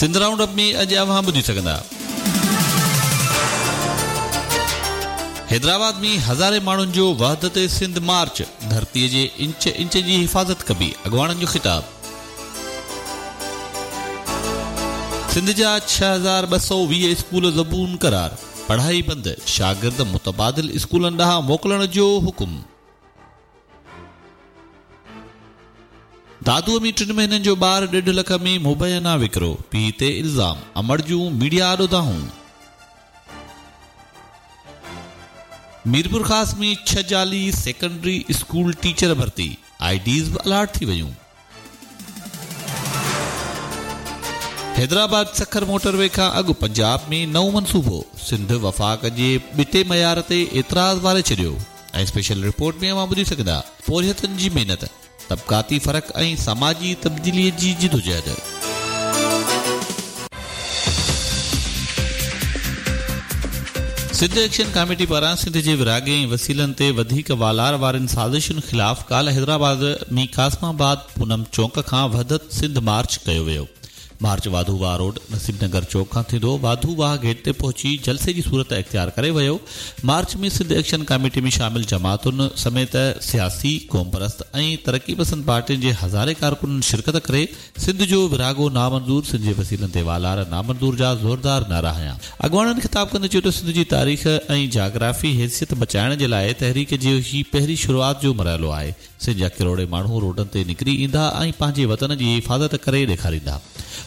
Sindh round up ۾ اڄ اوهان ٻڌي سگهندا. حيدرآباد ۾ هزارين ماڻهن جو وحدت سنڌ مارچ، ڌرتي جي انچ انچ جي حفاظت ڪبي، اڳواڻن جو خطاب. سنڌ جا 6220 اسڪول زبون قرار، پڙهائي بند، شاگرد متبادل اسڪولن ڏانهن موڪلڻ جو حڪم. دادوء ۾ ٽن مهينن جو ٻار ڏيڍ لک ۾ مبينا وڪرو، پيء تي الزام، امڙ جون ميڊيا آڏو دانهون. ميرپورخاص ۾ ڇهه جعلي سيڪنڊري اسڪول ٽيچر ڀرتي، I Ds به الاٽ ٿي ويون. حيدرآباد سکر موٽر وي کان اڳ پنجاب ۾ نئون منصوبو، سنڌ وفاق جي ٻٽي معيار تي اعتراض واري ڇڏيو ۽ اسپيشل رپورٽ ۾ اوهان ٻڌي سگهندا پورهيتن جي محنت، طبقاتي فرق ۽ سماجي تبديلي جي جدوجهد. سنڌ ايڪشن ڪاميٽي پاران سنڌ جي ورهاڱي ۽ وسيلن تي وڌيڪ والار وارين سازشن خلاف ڪالهه حيدرآباد ۾ قاسم آباد پونم چونڪ کان وحدت سنڌ مارچ ڪيو ويو. مارچ واڌو واهه روڊ، نصيب نگر چوڪ کان ٿيندو واڌو واهه گيٽ تي پهچي جلسي جي صورت اختيار ڪري ويو. مارچ ۾ سنڌ ايڪشن ڪاميٽي ۾ شامل جماعتن سميت سياسي، قومپرست ۽ ترقي پسند پارٽين جي هزارين ڪارڪنن شرڪت ڪري سنڌ جو ورهاڱو نامنظور، سنڌ جي وسيلن تي والار نامنظور جا زوردار نعرا هنيا. اڳواڻن خطاب ڪندي چيو ته سنڌ جي تاريخ ۽ جاگرافي حيثيت بچائڻ جي لاء تحريڪ جو هي پهرين شروعات جو مرحلو آهي. سنڌ جا ڪروڙين ماڻهو روڊن تي نڪري ايندا ۽ پنهنجي وطن جي حفاظت ڪري ڏيکاريندا.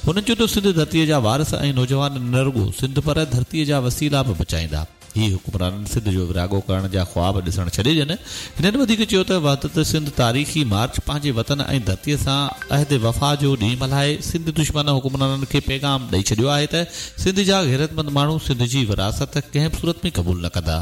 هنن چيو ته سنڌ ڌرتيء جا وارث ۽ نوجوان نه رڳو سنڌ پر ڌرتيء جا وسيلا به بچائيندا. هي حڪمرانن سنڌ جو ورهاڱو ڪرڻ جا خواب ڏسڻ ڇڏي ڏين. هنن وڌيڪ چيو ته وحدت سنڌ تاريخي مارچ پنهنجي وطن ۽ ڌرتيء سان عهد وفا جو ڏينهن ملهائي سنڌ دشمن حڪمرانن کي پيغام ڏئي ڇڏيو آهي ته سنڌ جا غيرتمند ماڻهو سنڌ جي ورهاست ڪنهن به صورت ۾ قبول نه ڪندا.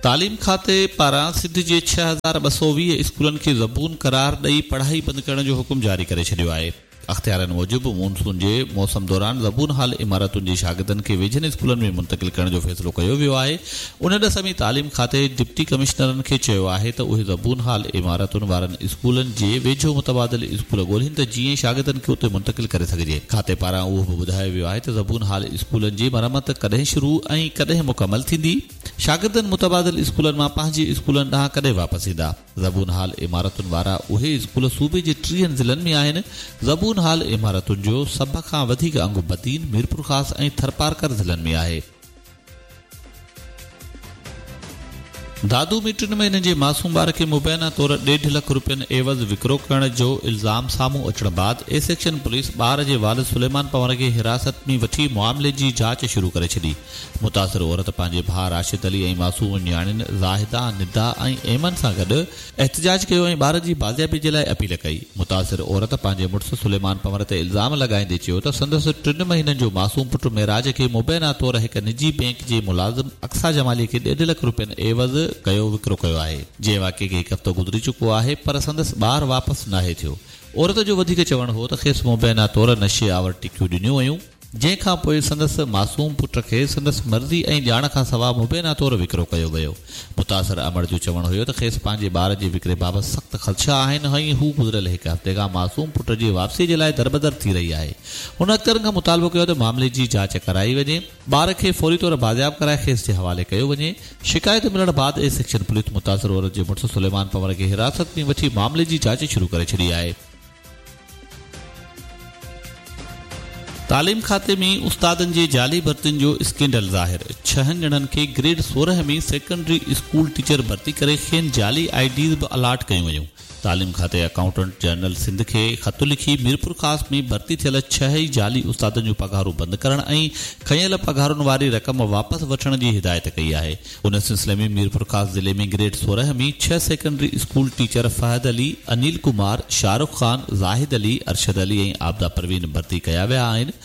تعليم کاتي پاران سنڌ جي 6220 اسڪولن کي زبون قرار ڏئي پڙهائي بند ڪرڻ جو حڪم جاري ڪري ڇڏيو آهي. اختيارين موجب مون سون جي موسم دوران زبون حال عمارتن جي شاگردن کي ويجهن اسڪولن ۾ منتقل ڪرڻ جو فيصلو ڪيو ويو آهي. ان ڏس ۾ تعليم کاتي ڊپٽي ڪمشنرن کي چيو آهي ته اهي زبون حال عمارتن وارن اسڪولن جي ويجهو متبادل اسڪول ڳولين ته جيئن شاگردن کي اتي منتقل ڪري سگهجي. کاتي پاران اهو به ٻڌايو ويو آهي ته زبون حال اسڪولن جي مرمت ڪڏهن شروع ۽ ڪڏهن مڪمل ٿيندي؟ شاگردن متبادل اسڪولن مان پنهنجي اسڪولن ڏانهن ڪڏهن واپس ايندا؟ زبون حال عمارتن وارا اهي اسڪول صوبي جي ٽيهن ضلعن ۾ آهن. زبون حال عمارتن جو سڀ کان وڌيڪ انگ بدين، ميرپورخاص ۽ ٿرپارڪر ضلعن ۾ آهي. دادو ۾ ٽن مهينن جي معصوم ٻار کي مبينا طور ڏيڍ لک روپين عيوض وڪرو ڪرڻ جو الزام سامهون اچڻ بعد اي سيڪشن پوليس ٻار جي والد سليمان پنهور کي حراست ۾ وٺي معاملي جي جاچ شروع ڪري ڇڏي. متاثر عورت پنهنجي ڀاء راشد علي ۽ معصوم نياڻين زاهده، ندا ۽ ايمن سان گڏ احتجاج ڪيو ۽ ٻار جي بازيابي جي لاء اپيل ڪئي. متاثر عورت پنهنجي مڙس سليمان پنهور تي الزام لڳائيندي چيو ته سندس ٽن مهينن جو معصوم پٽ معراج کي مبينا طور هڪ نجي بئنڪ جي ملازم اقصيٰ جمالي کي ڏيڍ لک روپين عيوض ڪيو وڪرو ڪيو آهي جنهن واقعي کي هڪ هفتو گذري چڪو آهي پر سندس ٻار واپس ناهي ٿيو. عورت جو وڌيڪ چوڻ هو ته کيس مبينا طور نشي آور ٽڪيون ڏنيون ويون. جنهن کان پوء سندس معصوم پٽ کي سندس مرضي ۽ ڄاڻ کان سواء مبينا طور وڪرو ڪيو ويو. متاثر امڙ جو چوڻ هيو ته کيس پنهنجي ٻار جي وڪري بابت سخت خدشا آهن ۽ هو گذريل هڪ هفتي کان معصوم پٽ جي واپسي جي لاء دربدر ٿي رهي آهي. هن اختيارين کان مطالبو ڪيو ته معاملي جي جاچ ڪرائي وڃي، ٻار کي فوري طور بازياب ڪرائي کيس جي حوالي ڪيو وڃي. شڪايت ملڻ بعد اي سيڪشن پوليس متاثر عورت جي مڙس سليمان پنهور کي حراست ۾ وٺي معاملي جي جاچ شروع ڪري ڇڏي آهي. تعليم کاتي ۾ استادن جي جعلي ڀرتين جو اسڪينڊل ظاهر، ڇهن ڄڻن کي گريڊ 16 ۾ سيڪنڊري اسڪول ٽيچر ڀرتي ڪري کين جعلي I Ds به الاٽ ڪيون ويون. تعليم کاتي اڪائونٽنٽ جنرل سنڌ کي خط لکي ميرپورخاص ۾ ڀرتي ٿيل ڇهه ئي جعلي استادن جون پگهارون بند ڪرڻ ۽ کنيل پگهارن واري رقم واپس وٺڻ جي هدايت ڪئي آهي. ان سلسلي ۾ ميرپورخاص ضلعي ۾ گريڊ 16 ۾ ڇهه secondary school teacher Fahad Ali, Anil Kumar, Shahrukh Khan, Zahid Ali, Arshad Ali ۽ Abida Parveen ڀرتي ڪيا ويا آهن.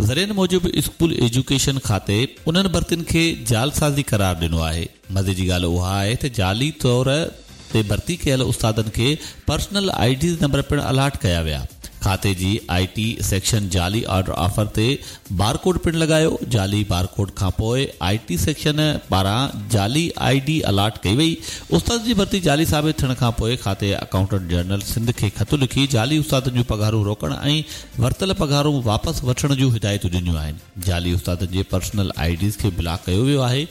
ذريعن موجب اسڪول ايجوڪيشن کاتي انهن ڀرتين کي جعلسازي قرار ڏنو آهي. مزي جي ڳالهه اها آهي ته جعلي طور تي ڀرتي ڪيل استادن کي پرسنل I Ds number پڻ الاٽ ڪيا ويا. کاتي جي آء ٽي سيڪشن جعلي آرڊر آفر تي بارڪوڊ پڻ لڳايو، جعلي بارڪوڊ کانپوء آء ٽي سيڪشن پاران جعلي I D allot ڪئي وئي، استادن جي ڀرتي جعلي ثابت ٿيڻ کانپوء کاتي اڪائونٽنٽ جنرل سنڌ کي خط لکي جعلي استادن جون پگهارون روڪڻ ۽ ورتل پگهارون واپس وٺڻ جون هدايتون ڏنيون آهن، جعلي استادن جي پرسنل I Ds کي بلاڪ ڪيو ويو آهي،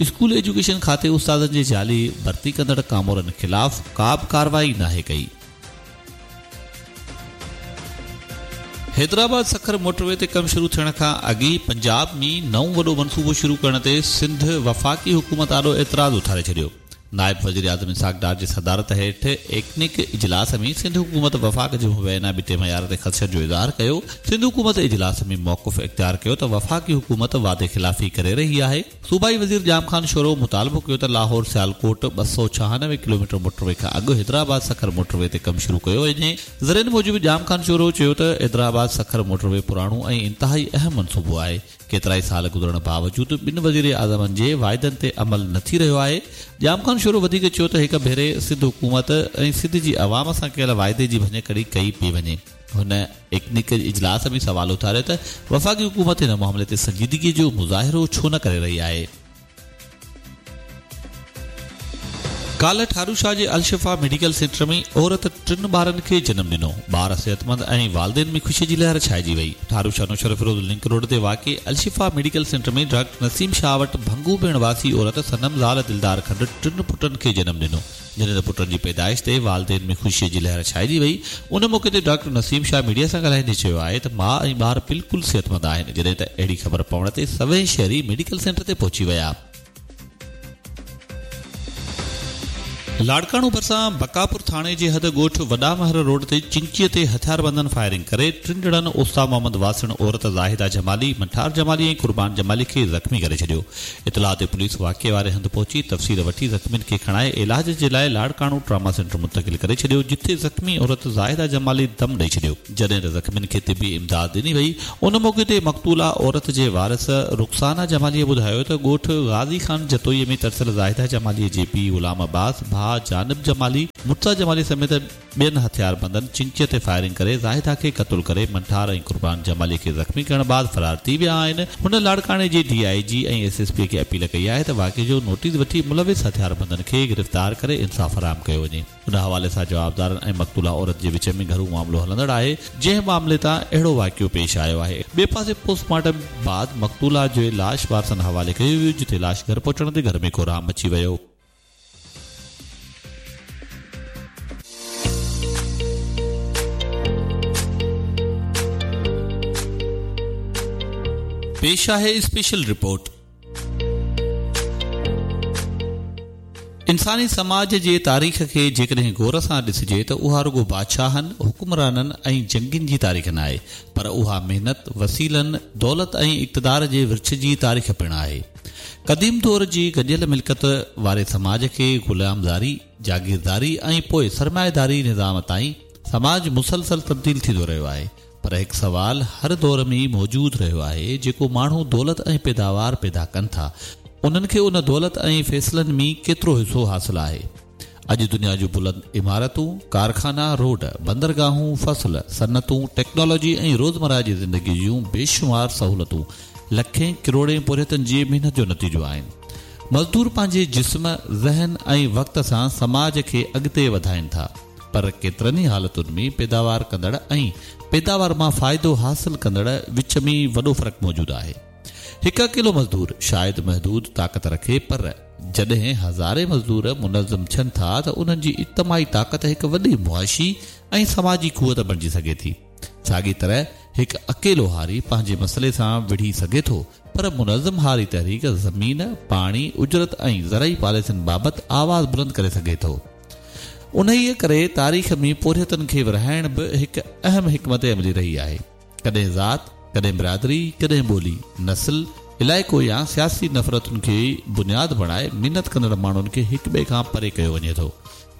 اسڪول ايجوڪيشن کاتي استادن جي جعلي ڀرتي ڪندڙ ڪامورن خلاف ڪابه ڪارروائي ناهي ڪئي. حيدرآباد سکر موٽروي تي ڪم شروع ٿيڻ کان اڳ ئي پنجاب ۾ نئون وڏو منصوبو شروع ڪرڻ تي سنڌ وفاقي حڪومت آڏو اعتراض اٿاري ڇڏيو. نائب وزيراعظم اسحاق ڊار جي صدارت هيٺ ايڪنڪ اجلاس ۾ سنڌ حڪومت وفاق جي مبينا ٻٽي معيار تي خدشن جو اظهار ڪيو. سنڌ حڪومت اجلاس ۾ موقف اختيار ڪيو ته وفاقي حڪومت وعدي خلافي ڪري رهي آهي. صوبائي وزير ڄام خان شورو مطالبو ڪيو ته لاهور سيالڪوٽ 296 ڪلوميٽر موٽروي کان اڳ حيدرآباد سکر موٽروي تي ڪم شروع ڪيو وڃي. ذريعن موجب ڄام خان شورو چيو ته حيدرآباد سکر موٽروي پراڻو ۽ انتهائي اهم منصوبو آهي، ڪيترائي سال گذرڻ باوجود ٻن وزيراعظمن جي واعدن تي عمل نه ٿي رهيو آهي. ڄام خان شورو وڌيڪ چيو ته هڪ ڀيري سنڌ حڪومت ۽ سنڌ جي عوام سان ڪيل واعدي جي ڀڃڪڙي ڪئي پئي وڃي. هن ايڪنڪ اجلاس ۾ سوال اٿاريو ته وفاقي حڪومت هن معاملي تي سنجيدگي جو مظاهرو ڇو نه ڪري رهي آهي. ڪالهه ٺاروشاه جي الشفا ميڊيڪل سينٽر ۾ عورت ٽن ٻارن کي جنم ڏنو، ٻار صحتمند ۽ والدين ۾ خوشي جي لهر ڇائجي وئي. ٺاروشاه نوشهروفيروز لنڪ روڊ تي واقع Al Shifa medical centre ۾ doctor Naseem Shah وٽ ڀنگو ڀيڻ واسي عورت صنم زال دلدار کنڊ ٽن پٽن کي جنم ڏنو. جڏهن ته پٽن جي پيدائش تي والدين ۾ خوشي جي لهر ڇائجي وئي، ان موقعي تي ڊاڪٽر نسيم شاهه ميڊيا سان ڳالهائيندي چيو آهي ته ماء ۽ ٻار بلڪل صحتمند آهن، جڏهن ته اهڙي خبر پوڻ تي سوين شهري ميڊيڪل سينٽر تي پهچي ويا. لاڙڪاڻو ڀرسان بقاپور ٿاڻي جي حد ڳوٺ وڏا مهر روڊ تي چنگچي تي هٿياربندن فائرنگ ڪري ٽن ڄڻن اوستا محمد واسڻ عورت زاهده جمالي، منٺار جمالي ۽ قربان جمالي کي زخمي ڪري ڇڏيو. اطلاع تي پوليس واقعي واري هنڌ پهچي تفصيل وٺي زخمين کي کڻائي علاج جي لاء لاڙڪاڻو ٽراما سينٽر منتقل ڪري ڇڏيو جتي زخمي عورت زاهده جمالي دم ڏئي ڇڏيو جڏهن ته زخمين کي طبي امداد ڏني وئي ان موقعي تي مقتولا عورت جي وارث رخسانه جمالي ٻڌايو ته ڳوٺ غازي خان جتوئي ۾ ترسيل زاهده جمالي جي پيء غلام عباس ڀاء جانب جمالي مرتضيٰ جمالي سميت ٻين هٿياربندن چنگچي تي فائرنگ ڪري زاهده کي قتل ڪري منٺار ۽ قربان جمالي کي زخمي ڪرڻ بعد فرار ٿي ويا آهن. هن لاڙڪاڻي جي D I G ۽ S S P کي اپيل ڪئي آهي ته واقعي جو نوٽيس وٺي ملوث هٿياربندن کي گرفتار ڪري انصاف فراهم ڪيو وڃي. ان حوالي سان جوابدارن ۽ مقتولا عورت جي وچ ۾ گهرو معاملو هلندڙ آهي جنهن معاملي تان اهڙو واقعو پيش آيو آهي. ٻئي پاسي پوسٽ مارٽم بعد مقتولا جو لاش وارثن حوالي ڪيو ويو جتي لاش گهر پهچڻ تي گهر ۾ ڪهرام مچي ويو. پيش آهي اسپيشل رپورٽ. انساني سماج جي تاريخ کي جيڪڏهن غور سان ڏسجي ته اها رڳو بادشاهن، حڪمرانن ۽ جنگين جي تاريخ ناهي پر اها محنت، وسيلن، دولت ۽ اقتدار جي ورڇ جي تاريخ پڻ آهي. قديم دور جي گڏيل ملڪيت واري سماج کي غلامداري، جاگيرداري ۽ پوء سرمائيداري نظام تائين سماج مسلسل تبديل ٿيندو رهيو آهي پر هڪ سوال هر دور ۾ موجود رهيو آهي جيڪو ماڻهو دولت ۽ پيداوار پيدا ڪن ٿا انهن کي ان دولت ۽ فيصلن ۾ ڪيترو حصو حاصل آهي؟ اڄ دنيا جون بلند عمارتون، ڪارخانا، روڊ، بندرگاهون، فصل، صنعتون، ٽيڪنالاجي ۽ روزمره جي زندگي جون بيشمار سهولتون لکين ڪروڙين پورهيتن جي محنت جو نتيجو آهن. مزدور پنهنجي جسم، ذهن ۽ وقت سان سماج کي اڳتي وڌائين ٿا، پر ڪيترن ئي حالتن ۾ پيداوار ڪندڙ ۽ پيداوار مان فائدو حاصل ڪندڙ وچ ۾ وڏو فرق موجود آهي. هڪ اڪيلو مزدور شايد محدود طاقت رکي پر جڏهن هزارين مزدور منظم ٿين ٿا ته انهن جي اجتماعي طاقت هڪ وڏي معاشي ۽ سماجي قوت بڻجي سگهي ٿي. ساڳي طرح هڪ اڪيلو هاري پنهنجي مسئلي سان وڙهي سگهي ٿو پر منظم هاري تحريڪ زمين، پاڻي، اجرت ۽ زرعي پاليسين بابت آواز بلند ڪري سگهي ٿو. انهيء ڪري تاريخ ۾ پورهيتن کي ورهائڻ به هڪ اهم حڪمت عملي رهي آهي. ڪڏهن ذات، ڪڏهن برادري، ڪڏهن ٻولي، نسل، علائقو يا سياسي نفرتن کي بنياد بڻائي محنت ڪندڙ ماڻهن کي هڪٻئي کان پري ڪيو وڃي ٿو.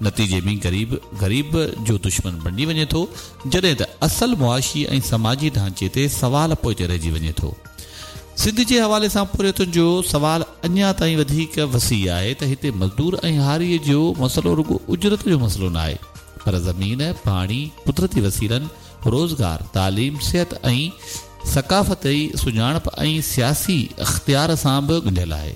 نتيجي ۾ غريب غريب جو دشمن بڻجي وڃي ٿو، جڏهن ته اصل معاشي ۽ سماجي ڍانچي تي سوال پوئتي رهجي وڃي ٿو. سنڌ جي حوالي سان پورهيتن جو سوال اڃا تائين وڌيڪ وسيع آهي ته هتي مزدور ۽ هاريء جو مسئلو رڳو اجرت جو مسئلو ناهي پر زمين، پاڻي، قدرتي وسيلن، روزگار، تعليم، صحت ۽ ثقافتي سڃاڻپ ۽ سياسي اختيار سان به ڳنڍيل آهي.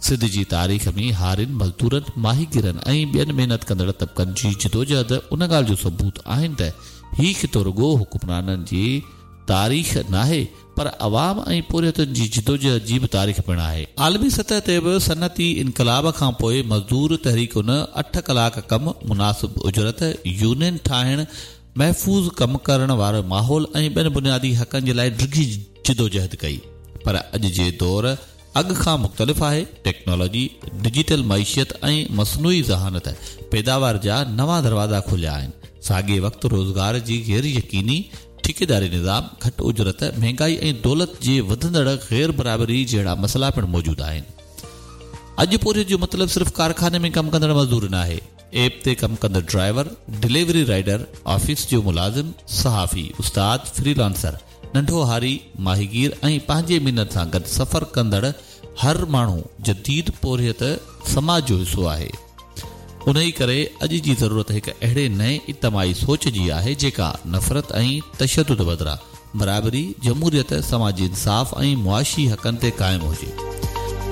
سنڌ جي تاريخ ۾ هارين، مزدورن، ماهيگيرن ۽ ٻين محنت ڪندڙ طبقن جي جدوجهد ان ڳالهه جو ثبوت آهن ته هي خطو رڳو حڪمرانن جي تاريخ ناهي پر عوام ۽ پورهيتن جي جدوجهد جي به تاريخ پڻ آهي. عالمي سطح تي به صنعتي انقلاب کان پوء مزدور تحريڪن اٺ ڪلاڪ ڪم، مناسب اجرت، يونين ٺاهڻ، محفوظ ڪم ڪرڻ وارو ماحول ۽ ٻين بنيادي حقن جي لاء ڊگهي جدوجهد ڪئي پر اڄ جي دور اڳ کان مختلف آهي، ٽيڪنالاجي، ڊجيٽل معيشت ۽ مصنوعي ذهانت پيداوار جا نوان دروازا کوليا آهن، ساڳئي وقت روزگار جي غير يقيني، ٺيڪيداري نظام، گهٽ اجرت، مهنگائي ۽ دولت جي وڌندڙ غير برابري جهڙا مسئلا پڻ موجود آهن. اڄ پورهيت جو مطلب صرف ڪارخاني ۾ ڪم ڪندڙ مزدور ناهي. ايپ تي ڪم ڪندڙ ڊرائيور، ڊليوري رائيڊر، آفيس جو ملازم، صحافي، استاد، فري لانسر، ننڍو هاري، ماهيگير ۽ پنهنجي محنت سان گڏ سفر ڪندڙ هر ماڻهو جديد پورهيت سماج جو حصو آهي. انهي ڪري اڄ جي ضرورت هڪ اهڙي نئين اجتماعي سوچ جي آهي جيڪا نفرت ۽ تشدد بدران برابري، جمهوريت، سماجي انصاف ۽ معاشي حقن تي قائم هجي.